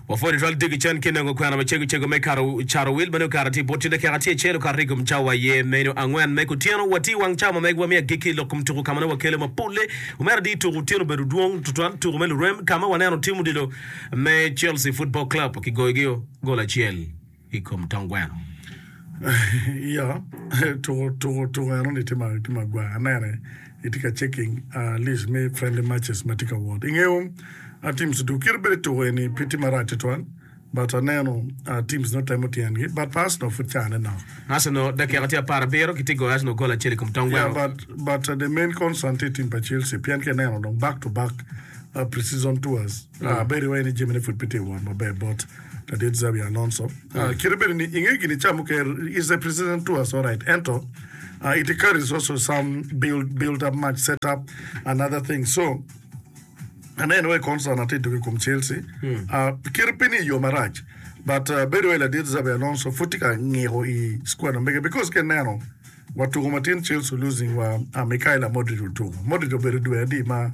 Wapwonyo twal diki cen ki nongo kwena macego cego me kato caro wil meno kare tye bot dakika tye acel okato i kom cawa aye meno angwen me kutyeno. Watye i wang cawa ma megwa me agikki i lok kom tuku ka ma nongo wakelo mapolle. Omera adi tuku otyeno obedo dwong tutwal tuku me lurem ka ma waneno tim odilo me Chelsea Football Club kigoyogi gol acel i kom tong gweno. Iya, tuko tuko tuko eno ni tye ma tye magwar anene itye ka checking uh, list me friendly matches ma tye ka wot. Ingeyo uh, teams du kit bedo tuko eni pe tye marac tutwal but aneno uh, teams no temo tyengi but pa Arsenal pud cane nok. Arsenal dakika tye 17 kitye goyo Arsenal gol acel i kom tong Yeah, gweno. but but uh, the main concern tye team pa Chelsea pien ka ineno dong back to back uh, pre-season tours uh, bedo iwaci ni jamine pud pe tye ka wot maber bot Ladit Xabi Alonso. Kite bedo ni inge gini ca mukene is a pre-season tours alright ento it carries also some build build up match set up and other things so aneno wai concern atye dok i kom Chelsea kite pe ni i yo marac but bedo wai ladit Xabi Alonso pud tye ka ngiko i squad ma mege because ka ineno Wa tuko matin Chelsea losing wa Mykhailo Modric otuko. Modric obedo dwe adi ma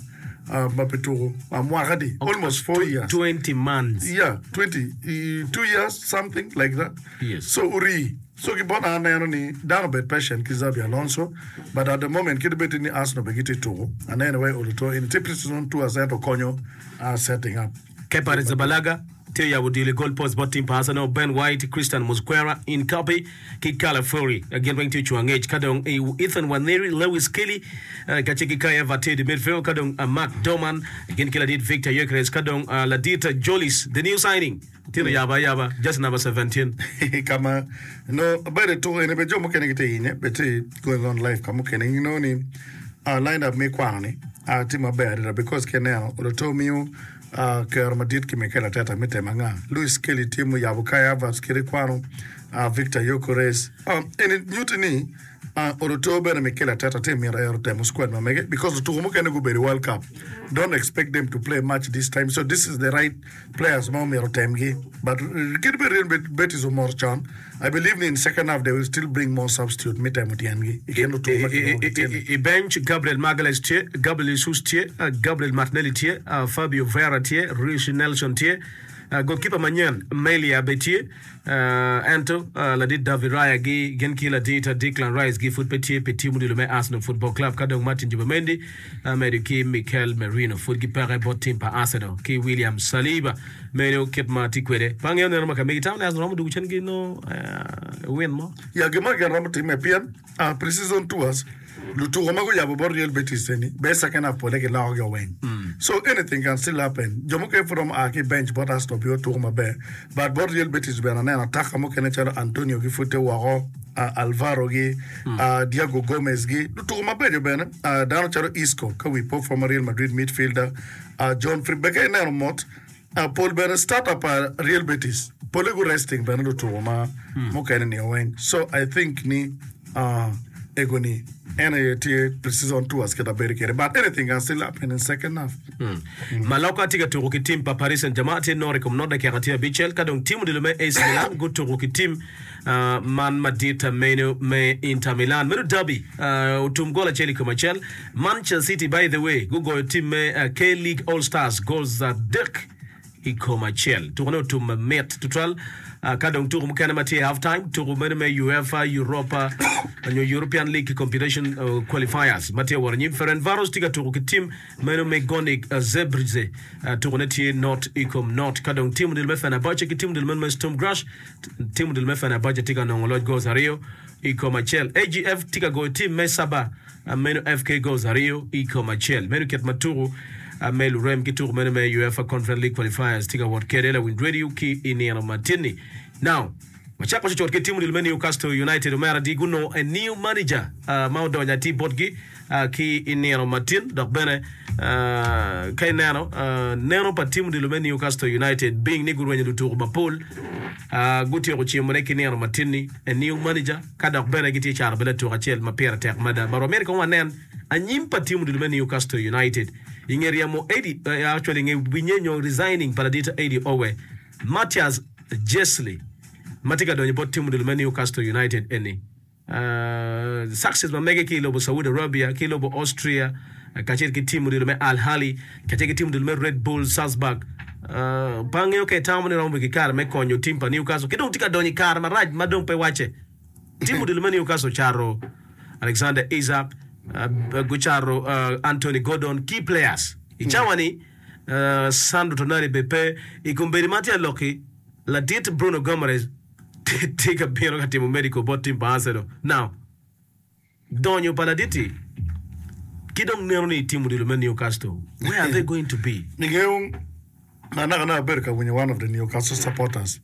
ma pe tuko? Mwaka adi? Almost 4 years. 20 months. Yeah, 22 years something like that. Yes. So ori. So ki bot an aneno ni dano obed patient ki Xabi Alonso but at the moment kit bed ni Arsenal be gitye tuko aneno wai olo to eni tye pre-season tours ento konyo setting up. Kepa Arrizabalaga tye oyabo odilo i goal post bot tim pa Arsenal, Ben White, Christian Mosquera, Incapi ki Calafiori gin weng tye ocung angec ka dong Ethan Nwaneri, Lewis Kelly kacel ki Kai Havertz tye i midfield ka dong Mark Doman gin ki ladit Victor Gyökeres ka dong ladit Jolis the new signing tye oyabo ayaba jersey number 17. Ka ma nongo bedo i tuko eni bene jo mukene gitye hinye bene tye going on live ka mukene inongo ni line up me kwano ni tye maber adada because ka ineno Oloto miyo Kero madit ki Mikel Arteta me temo anga? Lewis Skelly tye muyabo Kai Havertz kite kwano Victor Gyökeres. Eni nyutti ni Oloto bene Mikel Arteta tye mito ero temo squad ma mege because lutuku mukene gubedo i World Cup. Don't expect them to play much this time so this is the right players ma omyero otemgi. But kadi bed Real Betis omoro con, I believe ni in second half they will still bring more substitute me temo tyengi i kin lutuku ma kilwongo ki tyen-ni. I bench, Gabriel Magalhaes tye, Gabriel Jesus tye, Gabriel Martinelli tye, Fabio Vieira tye, Reiss Nelson tye, golkipa manyen Meslier bene tye, ento ladit David Raya gi gin ki ladit Declan Rice gi pud pe tye pi tim odilo me Arsenal Football Club ka dong Martin Zubimendi medo ki Mikel Merino pud gipeke bot tim pa Arsenal ki William Saliba. Meno kit ma atye kwede. Pe angeyo neno ma ka megi tamo ni Arsenal romo dwogo cen ki nongo win mo. Ya gin ma gin romo timme pien pre-season tours lutuko ma guyabo bot Real Betis eni be second half pole giloko gi weng. So anything can still happen. Jo mukene pud romo a ki bench bot Arsenal pi otuko maber but bot Real Betis bene aneno ataka mukene calo Antonio gi pud tye woko, Alvaro gi, Diego Gomez gi lutuko mabeco bene dano calo Isco ka wi po former Real Madrid midfielder John Free bene ka ineno mot Pol bene starter pa Real Betis pole gu resting bene lutuku ma mukene ni weng so I think ni ego ni en aye tye pre-season tours kit abedo kwede but anything can still happen in second half. Maloka tye ka tuku ki tim pa Paris Saint-Germain tye noro i kom not dakika tye abicel ka dong tim odilo me AC Milan gutuku ki tim man madit meno me Inter Milan. Meno derby otum gol acel i kom acel. Manchester City by the way gugoyo tim me K-League All Stars goals adek i kom acel. Tukone otum mamit tutwal. Ka dong tuko mukene ma tye i half time, tuko meno me UEFA Europa nyo European League Competition Qualifiers ma tye wot anyim. Ferencvaros tye ka tuko ki tim meno me Gornik Zabrze. Tukone tye not i kom not. Ka dong tim odilo me Fenerbahce ki tim odilo meno me Sturm Graz Tim odilo me Fenerbahce tye ka nongo loc goals aryo i kom acel. AGF tye ka goyo tim me Saba meno FK goals aryo i kom acel. Meno kit ma tuku me lurem ki tuku meno me UEFA Conference League Qualifiers tye ka wot kwede lawiny radio ki i nino ma tin-ni. Now, wacako cucut ki tim odilo me Newcastle United omera di gunongo a new manager ma odonyo atir botgi ki i nino matin dok bene ka ineno neno pa tim odilo me Newcastle United being ni gurwenyo lutuku mapol gutyeko cimone ki nino matin-ni a new manager ka dok bene gitye caro bene latuk acel ma pire tek mada but wamito kong wanen anyim pa tim odilo me Newcastle United i nge ryemo Eddie actually i nge winye nyo resigning pa ladit Eddie Howe Matthias Jesli ma tye ka donyo bot tim odilo me Newcastle United eni. Success ma mege ki i lobo Saudi Arabia ki lobo Austria kacel ki tim odilo me Al Ahly kacel ki tim odilo me Red Bull Salzburg. Pe angeyo ka itamo ni romo bedo ki kare me konyo tim pa Newcastle ki dong tye ka donyo i kare marac ma dong pe wacce. Tim odilo me Newcastle ocato Alexander Isak, gucato Anthony Gordon, key players. I cawa-ni, Sandro Tonali bene pe. I kombeddi ma atye ka lok-ki, ladit Bruno Guimaraes tye ka bino ka timo medical bot tim pa Arsenal. Now, Donyo pa ladit-ti ki dong neno ni itimo odilo me Newcastle, where are they going to be? Ingeyo, anaka abedo ka winyo one of the Newcastle supporters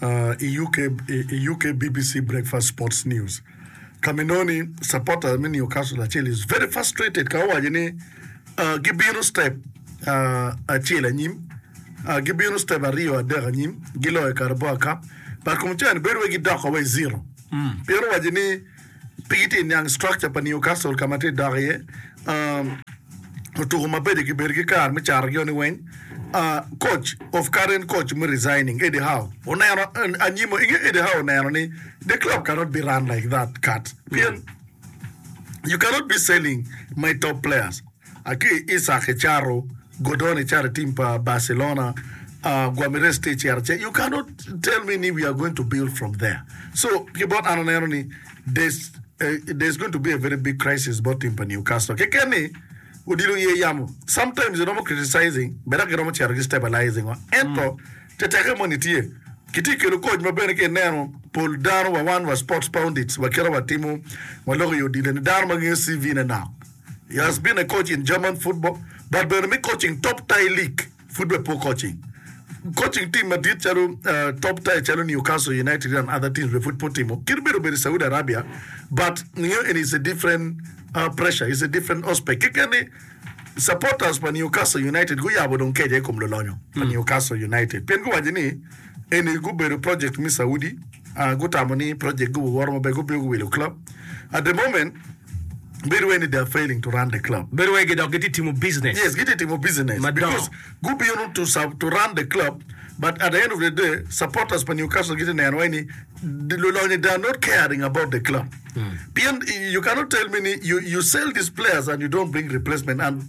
i UK, i UK BBC Breakfast Sports News ka ma inongo ni supporter me Newcastle acel is very frustrated ka owaco ni gibino step acel anyim, gibino step aryo adek anyim giloyo Carabao Cup but kom ca ni bedo wai gidoko wa i zero pien owaco ni Pe gitye ka niang structure pa Newcastle ka ma tye ka dok iye. Otuko mabeco gibedo ki kare me catogi ni weng. Coach of current coach me resigning Eddie Howe oneno anyim inge Eddie Howe oneno ni the club cannot be run like that cut pien you cannot be selling my top players. Ki Isak icato, Gordon icato i team pa Barcelona, Guamirez tye icito acita, you cannot tell me ni we are going to build from there. So ki bot an aneno ni there's, there's going to be a very big crisis bot team pa Newcastle. Keken ni odilo iye yamo, sometimes iromo criticizing but dok giromo cito gi stabilizing wa. Ento teteke moni tye, kitye kelo coach ma bene ka ineno pol dano wa wan wa sports pundits wa kite watimo waloko i odilo ni dano ma ngeyo CV ne nok. He has been a coach in German football but bene me coaching top tier league pud bene pe coaching. Coaching team madit calo top tier calo Newcastle United and other teams bene pud pe otimo. Kit bedo obedo i Saudi Arabia but ngeyo eni is a different pressure, is a different aspect. Keken ni supporters pa Newcastle United guyabo dong keca i kom lulonyo pa Newcastle United pien guwaco ni eni gubedo project me Saudi gutamo ni project gubiwoto maber gubino guwilo club at the moment Bedo wai ni they are failing to run the club. Bedo wai gidok gitye timo business. Yes, gitye timo business Madongo. because gubino to sub, to run the club but at the end of the day supporters pa Newcastle gitye neno wai ni lulonyo they are not caring about the club. Pien you cannot tell me ni you, you sell these players and you don't bring replacement and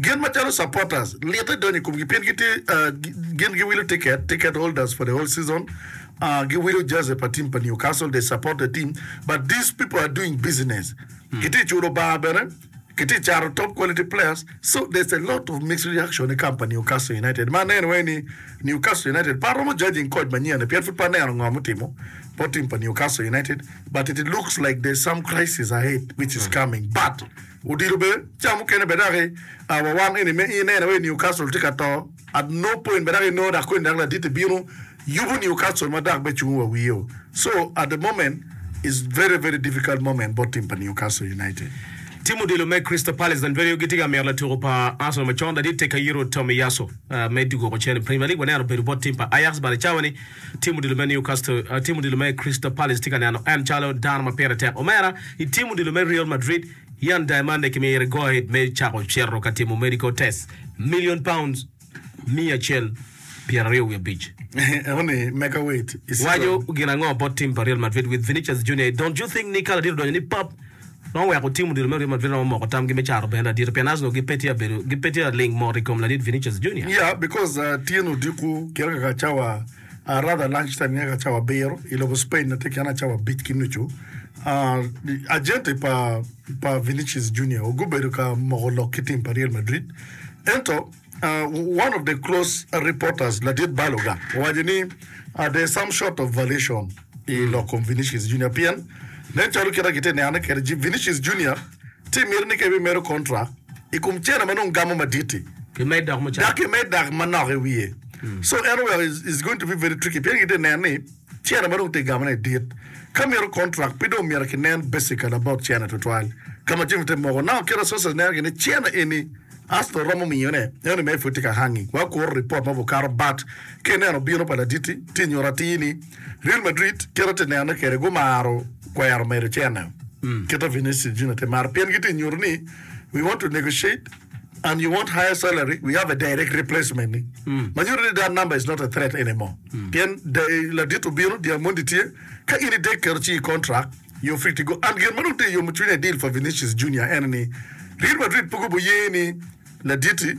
gin macalo supporters lite donyo i komgi pien gitye uh, gin giwilo ticket, ticket holders for the whole season. Giwilo jersey pa team pa Newcastle, they support the team but these people are doing business. Gitye culo bar bene, gitye cato top quality players so there's a lot of mixed reaction i camp pa Newcastle United. Ma aneno wai ni Newcastle United pe aromo judging coach manyen ni pien pud pe aneno ngo mutimo bot team pa Newcastle United but it looks like there's some crisis ahead which is coming but odilo bene ca mukene bene dok wa wan eni me ineno wai Newcastle tye ka to At no point ma dok inongo dok koni dok ladit bino yubo Newcastle ma dok be cungo wa wiye. So at the moment is very very difficult moment bot team pa Newcastle United. Tim odilo me Crystal Palace dan bedo gitye ka mito latuko pa Arsenal macon ladit Takehiro Tomiyasu me dwoko cen i Premier League. Waneno obedo bot tim pa Ajax but i cawa ni tim odilo me Newcastle tim odilo me Crystal Palace tye ka neno en calo dano ma pire tek. Omera i tim odilo me Real Madrid Yan Diamande kimire go ahead me cako cito ka timo medical test million pounds 125. Eno-ni mega weight i Waco gin ango bot team pa Real Madrid with Vinicius Junior Don't you think ni ka ladit odonyo ni pap romo weko team odilo me Real Madrid romo moko tamgi me caro bene ladit pien Arsenal gi pe tye abedo gi pe tye aling mot i kom ladit Vinicius Junior. Yeah because tyen odiko kite kaka cawa rather lunch time nge ka cawa abiro i lobo Spain na tye kene cawa abic ki nucu agente pa pa Vinicius Junior gubedo ka moko lok ki team pa Real Madrid ento one of the close reporters ladit Baloga owaco ni there is some sort of violation i lok kom Vinicius Junior pien nen calo kite gitye nene kwede Vinicius Junior tye mito ni ka ebimedo contract i kom cene ma nongo gamo madit-ti Kimed dok mucara. dok kimed dok manok i wiye. So en oweko is going to be very tricky pien gitye neno ni cene ma dong tye gamone dit. Ka mito contract pe dong myero kinen basically about cene tutwal ka ma jami tye moko. Now kit ma sources neno gini cene eni Arsenal romo miyone eno mere pud tye ka hanging wa kuro report ma bukato but ka ineno bino pa ladit-ti tye nyuto atir ni Real Madrid kite tye nenone kwede gumaro kwero medo cene kite Vinicius Junior tye maro pien gitye nyuto ni we want to negotiate and you want higher salary we have a direct replacement ni ma nyuto ni that number is not a threat anymore pien ladit obino Diamondi tye ka in idek keto ci i contract you're free to go and gin ma dong tye yomo cwinya i deal pa Vinicius Junior en ni Real Madrid pe gubo ye ni laditi.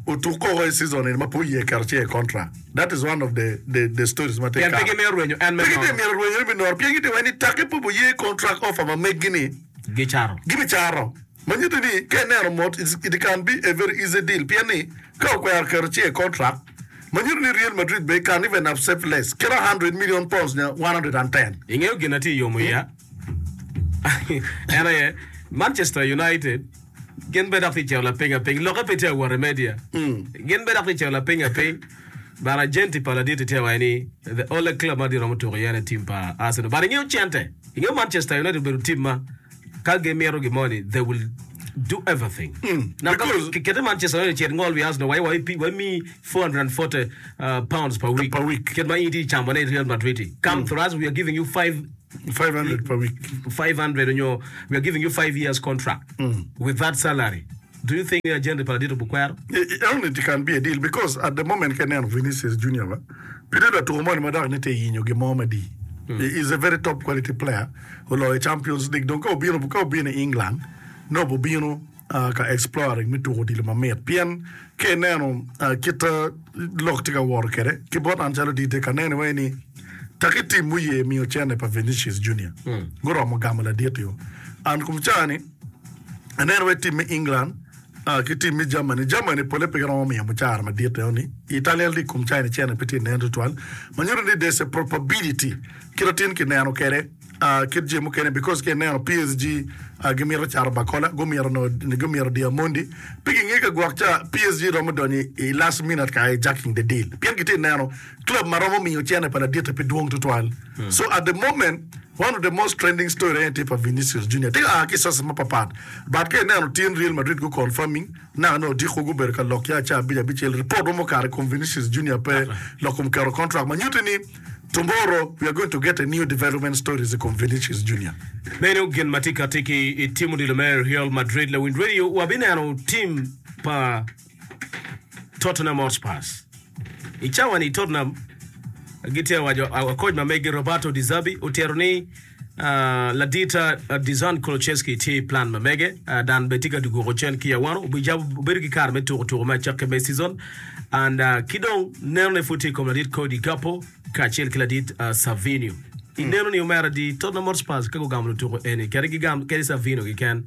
otuk koko i season eni ma pe oye keto cinge i contract. That is one of the the the stories ma tye Pien pe kare. gimito rwenyo en me Pe gitye nono. mito rwenyo ni me nono pien gitye waci ni take pe oye contract offer ma meggi ni Gicato. gibicato. Ma nyuto ni ka ineno mot it can be a very easy deal pien ni ka okwero keto cinge i contract ma nyuto ni Real Madrid bene can even accept less kit £100 million nyo 110. Ingeyo gin na tye yomo iya? En aye Manchester United gin bene dok tye cito lapiny apiny. Lokke pe tye awot i media. Gin bene dok tye cito lapiny apiny. But agenti pa ladit-ti tye waco ni the only club ma giromo tuko iye en team pa Arsenal. But ingeyo cente. Ingeyo Manchester United obedo team ma ka gimito gin moni they will do everything. Now ka Because kikete Manchester United cit ngol wi Arsenal waci wa wamiyi 440 uh, pounds per week. Per week. Kit ma in itye camone i Real Madrid-ti. Come through us we are giving you five 500 per week. 500 onyo we are giving you 5 years contract with that salary do you think ni agent pa ladit obukwero? Only it can be a deal because at the moment ka ineno Vinicius Junior ba pe tye latuko moni ma dok ni tye yinyo gin mo madii. He is a very top quality player oloyo Champions League dong ka obino ka obino i England nongo obino ka exploring me tuko odilo mamit pien ka ineno kit lok tye ka wot kwede ki bot an calo DJ ka neno iwaci ni taki tim muye miyo cene pa Vinicius Junior guromo gamo ladit-ti-o and kom caa-ni aneno iwaci tim me England ki tim me Germany, Germany pole pe giromo miyo mucara madit eno-ni, Italian League kom caa-ni cene pe tye nen tutwal ma nyuto ni there's a probability kit atin kineno kwede. Kit jami mukene because ka ineno PSG gimito cato Barcola gumito nongo gumito Diamondi pe ginge ka gwok ca PSG romo donyo i last minute ka hijacking the deal pien gitye neno club ma romo miyo cene pa laditte pe dwong tutwal so at the moment one of the most trending story aye tye pa Vinicius Junior tye ka a ki sources mapapat but ka ineno tin Real Madrid gu confirming naka nongo odiko gubedo ka lok ya ca abic abicel report mo mukato i kom Vinicius Junior pe lok kom keto contract ma nyutti ni Tomorrow we are going to get a new development stories i kom Vinicius Junior. Meno gin ma tye kati ki i tim odilo me Real Madrid. Lawiny radio, wabineno tim pa Tottenham Hotspurs. I cawa-ni Tottenham gitye ka waco koc ma megi Roberto De Zerbi otito ni ladit Dejan Kulusevski tye i plan ma mege dan bene tye ka dwoko cen ki i awano obijabo obedo ki kare me tuko tuko me acakki me season and ki dong nenone pud tye i kom ladit Cody Gakpo kacel ki ladit Savinho. I neno ni omera di Tottenham Hotspurs ka gugamo lutuko eni kadi gigam kadi Savinho keken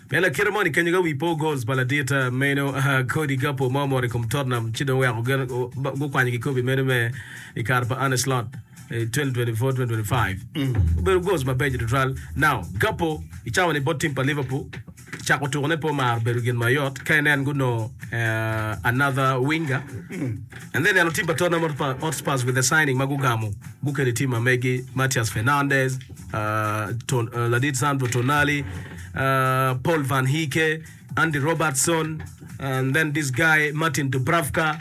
pien lakite moni kenyo ka wi po goals pa ladit meno Cody Gakpo ma omoto i kom Tottenham ci dong oweko gukwanyo kikopi meno me i kare pa Arne Slot. 2024-2025 obedo goals mabeco tutwal. Now, Gakpo i cawa ni bot team pa Liverpool cako tukone pe omaro bedo gin mayot ka inen gunongo uh, another winger and then eno team pa Tottenham Hotspur- Hotspurs with the signing ma gugamo gukelo i team ma megi Matthias Fernandes uh, Ton, uh, ladit Sandro Tonali uh, Paul Van Hecke Andy Robertson and then this guy Martin Dubravka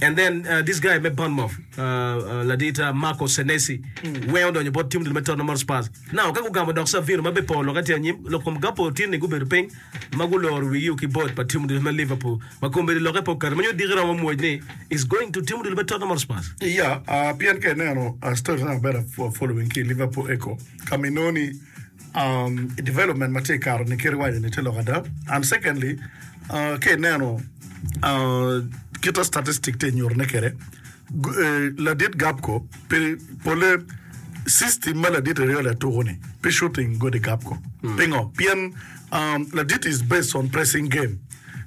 And then uh, this guy me Bournemouth, uh, uh, ladita Marco Senesi, weng odonyo bot tim me Tottenham Hotspurs. Now, ka gugamo dok Savino ma be po loke tye anyim, lok kom Gakpo tin ni gubedo piny ma guloro wigi ki bot pa tim me Liverpool ma kombeddi loke pe oketo ma nyo diki romo mwoc ni is going to tim me Tottenham Hotspurs. Yeah, uh, pien ka ineno uh, stories na maber following ki Liverpool Echo ka ma inongo ni um, development ma tye i kare ni kit iwaco ni tye lok ada and secondly uh, ka ineno Kita statistic tye nyutone kwede, ladit Gapco pi pole system ma ladit Ariola tuko ni pi shooting godi Gapco. Pingo? Pien ladit is based on pressing game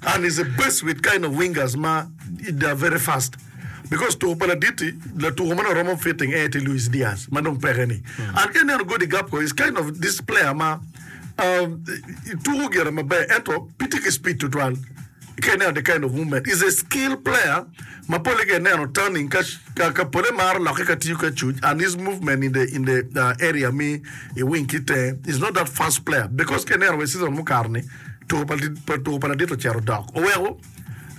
and is a based with kind of wingers ma they are very fast because tuko pa ladit-ti latuko ma nongo romo fitting en aye tye Luis Diaz ma dong peke ni. And ka ineno godi Gapco is kind of this player ma Tuko gire maber ento pe tye ki speed tutwal. Ka ineno the kind of movement is a skill player ma pole ka ineno turning ka ka pole maro lokke ka tiyo ki acuc and his movement in the in the uh, area me i wing ki tenge is not that fast player because ka ineno wa season mukato ni tuko pa pa tuko pa ladit ocito dok oweko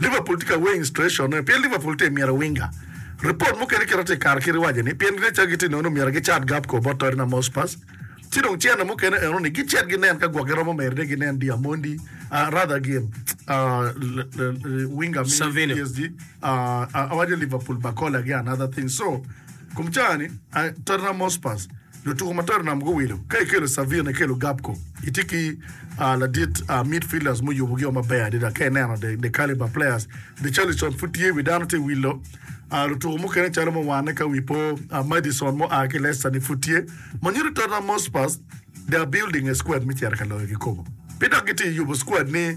Liverpool tye ka weighing situation ne pien Liverpool tye myero winger report mukene kite tye kare kit iwaco ni pien ginne calo gitye nongo myero gicat Gakpo bot Tottenham Hotspurs Ci dong cene mukene eno ni gicit ginen ka gwok giromo medone ginen Diamondi, rather gin winger me Savinho. PSG, awaco Liverpool Barcola gi another thing. So kum caa ni Tottenham Hotspurs. Lutuku ma Tottenham guwilo, ka ikelo Savino, ikelo Gakpo, itye ki ladit midfielders muyubogio maber adada. Ka ineno the caliber players, Richarlison pud tye, wi dano tye wilo. Lutuku mukene calo muwane ka wi po, Maddison mua ki Leicester ni pud tye. Ma nyuto Tottenham Hotspurs they are building a squad me cito ka loyo kikopo. Pe dok gitye yubo squad ni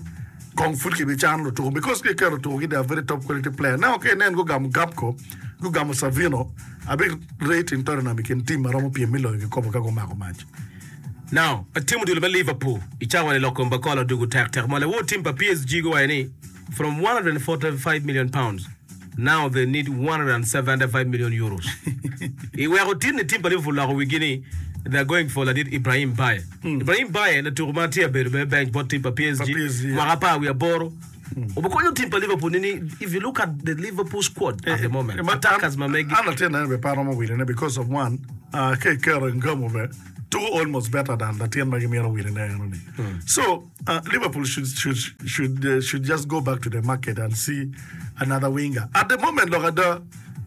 kong pud kibicano lutuku because ka iketo lutuku gi they are very top quality player. Now ka inen gugamo Gakpo, gugamo Savino, Abi rating Tottenham i kin tim ma romo pyem me loyo kikopo ka gumako mac. Now, tim odilo me Liverpool i cawa ni loko Mbakola odugo tek tek ma lawor tim pa PSG guwaco ni from 145 million pounds now they need 175 million euros. I weko tin ni tim pa Liverpool loko wigi ni they are going for ladit Ibrahim Mbaye. Ibrahim Mbaye latuko ma tye abedo bene bench bot tim pa PSG mwaka apar wiye aboro. Obikonyo tim pa Liverpool nini if you look at the Liverpool squad at the moment attackers ma megi. An latin ene bene pe aromo wilone because of one ka iketo Ngamo bene tuko almost better than latin ma gimito wilone eno ni. So Liverpool should should should should just go back to the market and see another winger. At the moment lok ada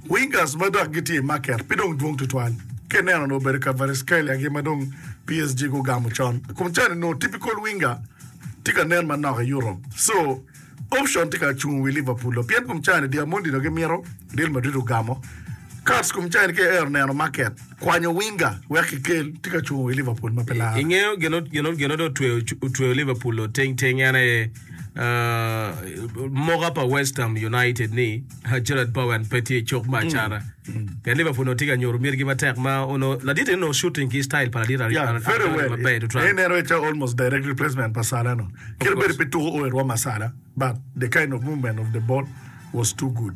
wingers ma dok gitye i market pe dong dwong tutwal. Ka ineno onongo obedo Kvaratskhelia gi ma dong PSG gugamo con. Kom cani nongo typical winger tye ka nen manok i Europe so option tye ka cung wi Liverpool o pien kom cani Diamondi dong gimito Real Madrid ogamo Cards kom cani ka iero neno market kwanyo winger wek kikel tye ka cung wi Liverpool ma pe laro. Ingeyo gin gin dong otweyo Liverpool oting ting en aye moka pa West Ham United ni Jarrod Bowen pe tye i cuk me acata. Pien Liverpool onongo tye ka nyuto mitgi matek ma onongo ladit eni onongo shooting ki style pa ladit Yeah, very Aroni well. maber tutwal. En ineno calo almost direct replacement pa Salah no. Of Kadi bed course. pe tuko o i rwom ma Salah, but the kind of movement of the ball was too good.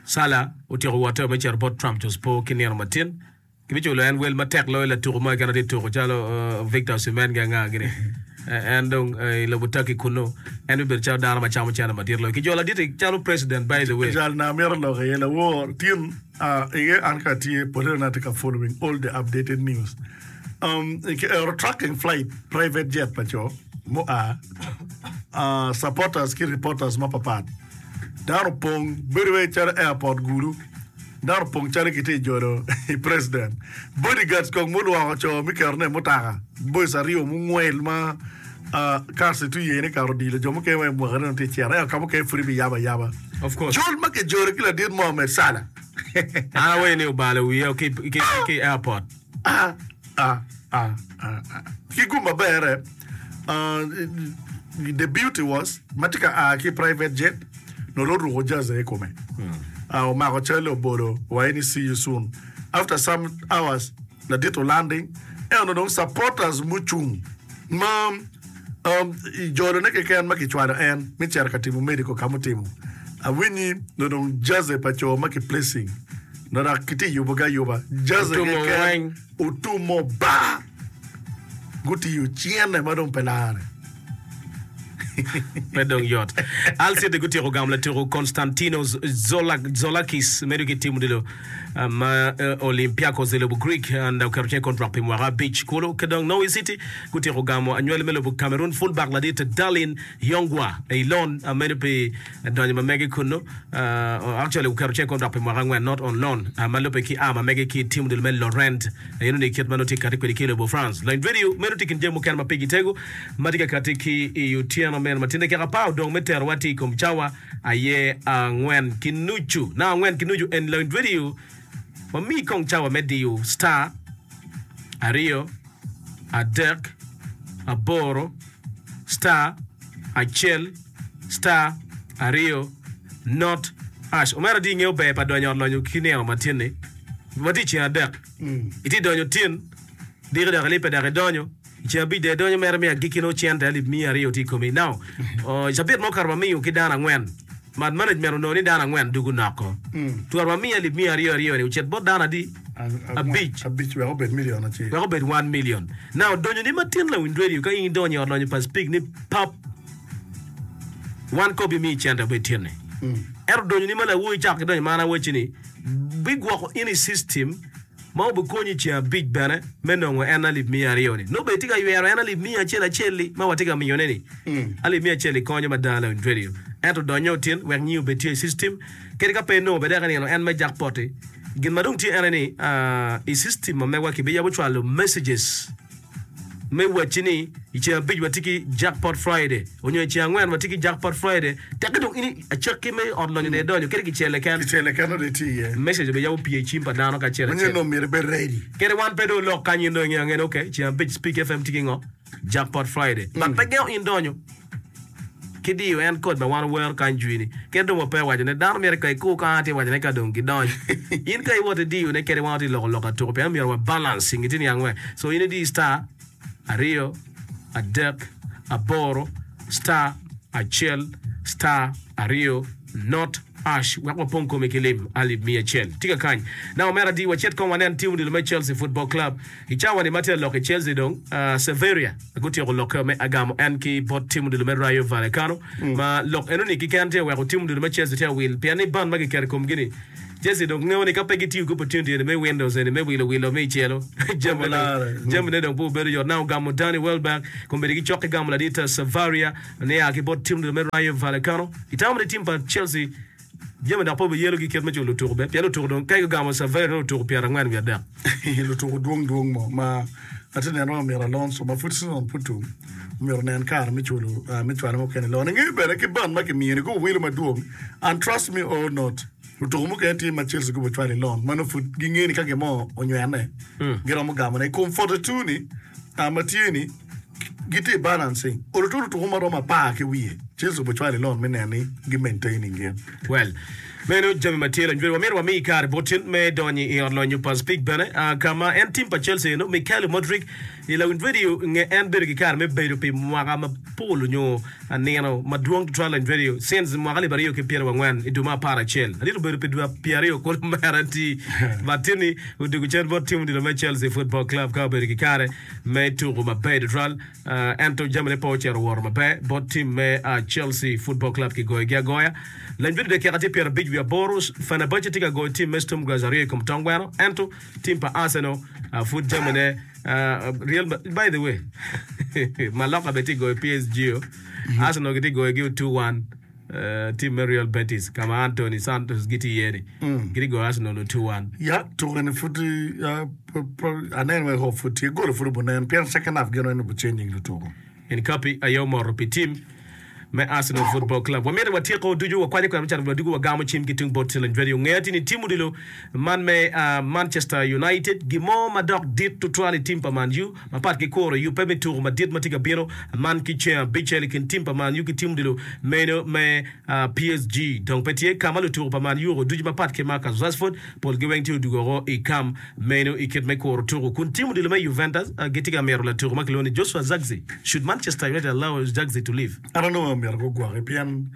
Salah otyeko wotte me cito bot Trabzonspor ki nino matin. Kibiculo en wel matek loyo latuko mo keken ma tye tuko calo Victor Osimhen ki anga gini. En dong i lobo Turkey kunnu, en bibedo calo dano ma camo cente madit loyo. Kijolo ladit-ti calo president by the way. Jal na amito lok iye lawor tin iye an ka atye poteno na atye ka following all the updated news um, ki ero tracking flight private jet pa co mua supporters ki reporters mapapat Dano opong bedo wai calo airport gulu. Dano opong calo kitye ka jolo president. Bodyguards kong mulwoko co me ketone i mutoka. Boys aryo mungwel ma cars tye yene kato odilo jo mukene wa i mwakane dong tye ka cito ento ka mukene pud ibiyabo ayaba. Of course. Col ma kijolo ki ladit Mohammed Salah. An awaco ni obalo wiye ki airport. Ah, ah, ah, ah, ah. Ki gum maber-re, ah, the beauty was, ma tye ka a ki private jet, nongo oruko jersey i kome. Ah, omako calle obolo wa ni see you soon. After some hours, ladit olanding, ento dong supporters mucung ma um, i jolone keken ma kicwalo en me cito ka timo medical ka mutimo. Awinyi nongo dong jersey pa co ma ki placing nongo dok kitye yubogi ayuba. Jersey Otumo keken weng. otumo bar gutiyo cene ma dong pe lare. Pe dong yot. Hull City gutyeko gamo latuko Konstantinos Tzolakis medo ki tim odilo ma Olympiacos i lobo Greek and oketo cing i kontrak pi mwaka abic kulu. Ki dong Norwich City gutyeko gamo anywali me lobo Cameroon fullback ladit Darlin Yongwa i loan medo pi donyo ma mege kunnu. Actually oketo cing i kontrak pi mwaka angwen not on loan ma lubbe ki a ma mege ki tim odilo me Lorient. Eno ni kit ma nongo tye ka kati kwede ki i lobo France. Lony Radio meno tye i kin jami mukene ma pigi tego ma tye ka kati ki i otyeno meno ma tye dakika apar odong me terowa tye i kom cawa aye angwen ki nucu. Na angwen ki nucu en Lony Radio wamiyi kong cawa me diyo star aryo adek aboro star acel star aryo not hash. Omera tye ingeyo ber pa donyo ot lonyo ki nino ma tye-ni? Watye i ceng adek. Itye donyo tin, diki dok ilibbe dok idonyo. I ceng abic dong idonyo mere me agikki nongo cente alip miya aryo tye i komi. Now, i cabit ma okato wamiyo ki dano angwen. But management onongo ni dano angwen dugu noko. Twero wamiyo alip miya aryo aryo ni ocit bot dano adi? Abic. Abic wek obed million acel. Wek obed one million. Now, donyo ni matin lawiny radio ka in idonyo i ot lonyo pa Speke ni pap wan kobi miyi cente obed tye-ni. Ento donyo ni ma lawoyi cako ki donyo ma an awacci ni bigwoko in i system ma obikonyi i ceng abic bene me nongo en alip miya aryo-ni. Nongo bene itye ka ywero en alip miya acel acel-li ma watye ka miyone-ni. Alip miya acel-li konyo mada lawiny radio. Ento donyo tin wek nyingi obed tye i system. Kadi ka pe inongo bene dek inino en me jackpot-ti. Gin ma dong tye en aye ni, i system ma megwa kibiyabo cwalo messages me wacci ni i ceng abic watye ki Jackpot Friday onyo i ceng angwen watye ki Jackpot Friday. Tekke dong in i acakki me ot lonyo dong idonyo kadi kicel keken. Kicel keken dong itye iye. Message obiyabo pye i cim pa dano kacel Manyen acel. dong myero ibed ready. Kadi wan pe dong olok kany in dong ingeyo angeya ni okay ceng abic Speak FM tye ki ngo? Jackpot Friday. But pe gengo in donyo ki diyo en kod ma wan wawero kany jwi ni kadi dong wape waco ne dano myero ka ikur kany atye waco ne ka dong gidony in ka iwot idiyo ne kadi wan watye loko lok atuku pien myero wa balance ingi tye niang we so in idi star aryo adek aboro star acel star aryo not ash wek wapong komi ki lim alip miya acel tye ka kany na omera adi wacit kong wanen tim odilo me Chelsea Football Club I cawa ni ma tye lok i Chelsea dong, Severia gutyeko lokke me agamo en ki bot tim odilo me Rayo Vallecano ma lok eno ni kiken tye weko tim odilo me Chelsea tye awil pien ni ban ma giketo i komgi ni Chelsea dong ngeyo ni ka pe gitiyo ki opportunity eni me windows eni me wilo wilo me icelo jamine dong pe obedo yot na ogamo Danny Welbeck kombeddi gicok ki gamo ladit Severia nia ki bot tim odilo me Rayo Vallecano. Itamo ni tim pa Chelsea Jami dok pe obiyelogi kit me culo lutuku be, pien lutuku dong ka gugamo Saveri nongo lutuku pyerangwen wiye adek. Lutuku dwong dwong mo ma atye neno ma omyero Alonso ma pud season pud tum omyero onen kare me culo me cwalo mukene loan. Ingeyo bene ki bond ma kimiyo ni gubo wilo madwong and trust me or not lutuku mukene tye ma Chelsea gubo cwalo i loan ma nongo pud gingeyo ni ka gin mo onywene giromo gamone. I kom 42 ni ma tye ni Gitye i balancing. Olo to lutuku ma romo apar ki wiye Chelsea obicwalo i loan me neno ni gi maintaining gin. Well, meno jami ma tye lony. Wamito wami kare bot tin me donyo i ot lonyo pa Speke bene, ka ma en tim pa Chelsea eno, Mykhailo Mudryk i lawiny radio nge en bedo ki kare me bedo pi mwaka mapol nyo nino madwong tutwal lawiny radio since mwaka alip aryo ki pyerangwen i dwe me aparacel. Ladit obedo pi dwe pyeraryo kulu mere ti but tin-ni odwogo cen bot tim odilo me Chelsea Football Club ka obedo ki kare me tuko maber tutwal ento jamine pe ocito owoto maber bot tim me Chelsea Football Club kigoyogi agoya. Lany bedo dakika tye pyerabic wiye aboro, Fenerbahce tye ka goyo tim me Sturm Graz aryo i kom tong gweno ento tim pa Arsenal pud jamine Real By the way, Mallorca bene tye ka goyo PSG o. Arsenal gitye ka goyogi 2-1. Tim me Real Betis ka ma Anthony Santos gitye iye-ni gitye goyo Arsenal 2-1. Ya, tuko-ni pud aneno wek hope pud tye, golo pud obunen pien second half gin weng obuchanging lutuko. Incapi aye omoto pi tim me Arsenal Football Club. Wamito watyeko ducu wakwanyo kwena me cato wadwogo wagamo cim ki tung bot Challenge Radio. Ngeya tye ni tim odilo man me Manchester United gin mo ma dok dit tutwal i tim pa Man U. Mapat ki kuro yubbe me tuko madit ma tye ka bino man ki ceng abicel i kin tim pa Man U ki tim odilo meno me PSG dong pe tye ka ma lutuko pa Man U ducu mapat ki Marcus Rashford polgi weng tye odwogo oko i kam meno i kit me kuro tuko kun tim odilo me Juventus gitye ka mito latuko ma kilwongo ni Joshua Zirkzee Should Manchester United allow Zirkzee to leave? An onongo myero gugwoki pien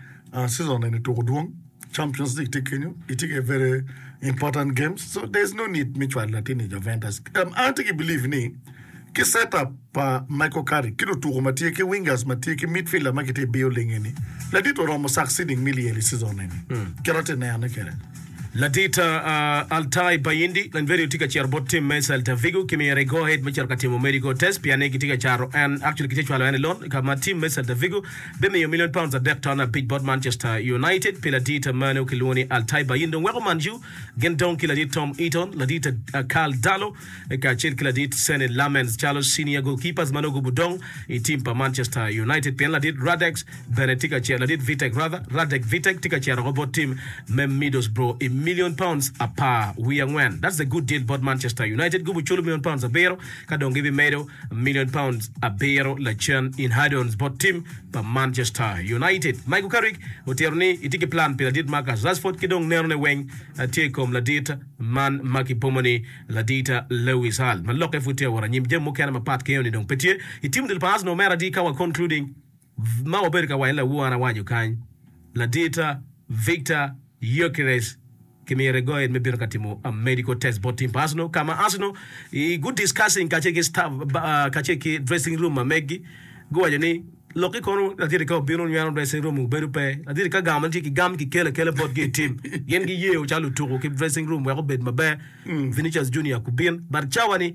season eni tuko dwong. Champions League tye kenyo, itye ki very important games so there is no need me cwalo latin i Juventus. Um, an atye ki believe ni ki set up pa Michael Carrick ki lutuko ma tye ki wingers ma tye ki midfielder ma gitye i building eni, ladit oromo succeeding me lyel i season eni. Kit atye nenone kwede. Ladit uh, Altay Bayindi Lanverio tye ka cito bot tim me Celta Vigo ki myero i go ahead me cito ka timo medical test pien ni gitye ka cato en actually gitye cwalo en i loan ka ma tim me Celta Vigo bimiyo milion paunds adek ton abic bot Manchester United pi ladit meno kilwongo ni Altay Bayindin. Dong weko Man U gin dong ki ladit Tom Eaton, ladit Karl Darlow kacel ki ladit Senne Lammens calo senior goalkeepers ma nongo gubudong i tim pa Manchester United pien ladit Radek bene tye ka cito ladit Vitek rather Radek Vitek tye ka cito oko bot tim me Middlesbrough i milion paunds apar wiye angwen. That's a good deal bot Manchester United. Gubuculo milion paunds abiro ka dong gibimedo Million pounds abiro lacen in add-ons bot tim pa Manchester United. Michael Carrick otito ni etye ki plan pi ladit Marcus Rashford ki dong nenone weng tye i kom ladit man ma kipomo ni ladit Lewis Hall. Ma lokke pud tye awot anyim, jami mukene mapat ki eno ni dong pe tye i tim dul pa Arsenal mere adi ka wa concluding ma wabedo ka waco ni lawor an awaco kany ladit Victor Gyokeres Kimiyo Regoed me bino ka timo medical test bot team pa Arsenal ka ma Arsenal i gu discussing kacel ki staff kacel ki dressing room ma meggi guwaco ni lokki kono laditi ka obino nyweno dressing room obedo pe laditi ka gamo tye ki gam kikelo akela botgi i team gin giyeo calo lutuku ki dressing room wek obed maber Vinicius Junior kubin but cawa ni.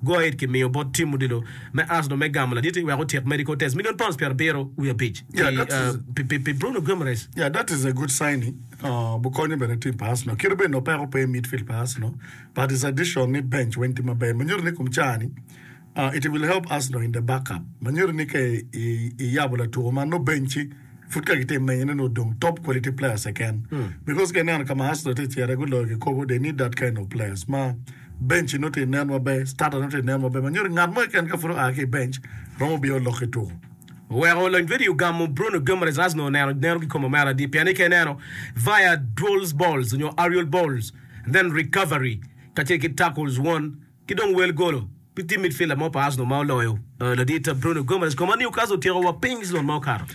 Go ahead kimiyo bot tim odilo me Arsenal me gamo laditi wek otyek medical test million pounds pyerabiro wiye abic Yeah, that is, pi Bruno Guimaraes. yeah, that is a good signing. Uh, bukonyo bene team pa Arsenal. Kit bed no peko pe i midfield pa Arsenal, but his addition ni bench weng tye maber. Ma nyuto ni kom caa-ni, uh, it will help Arsenal in the backup. Ma nyuto ni ka i, i yabo latuko man, no bench-ci pud ka gitye menyone nongo odong top quality players keken. Because ka ineno ka ma Arsenal tye ka cito guloyo kikopo, they need that kind of players ma bench nongo tye nen maber, starter nongo tye nen maber ma nyuto ni ngat mo keken ka pud oa ki i bench romo bino lok i tuko. Oweko lony vedio ogamo Bruno Guimaraes Arsenal oneno neno ki kome omera adi pien ni ka ineno via duels balls onyo aerial balls then recovery kacel ki tackles won ki dong wel golo pe tye midfielder mo pa Arsenal ma oloyo ladit Bruno Guimaraes koma Newcastle otyeko wa piny season ma okato.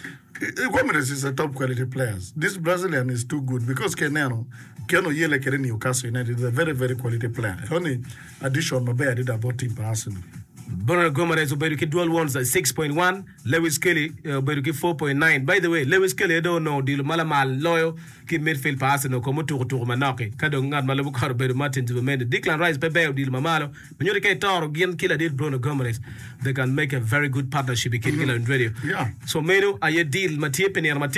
Guimaraes is a top quality players this Brazilian is too good because ka ineno keno oyele kwede Newcastle United is a very very quality player eno ni addition maber adada bot team pa Arsenal. Bruno Guimaraes obedo ki dual wons 6.1, Lewis Kelly obedo ki 4.9. By the way, Lewis Kelly aye dong onongo odilo ma lamal loyo ki i midfield pa Arsenal kome otuko tuko manok-ki. Ka dong ngat ma lubo kore obedo Martin Zubimendi. Declan Rice pe ber odilo ma malo, ma nyuto ka itoro gin ki ladit Bruno Guimaraes, they can make a very good partnership i kingi lawiny radio. Yeah. So meno aye deal ma tye pi nino matin.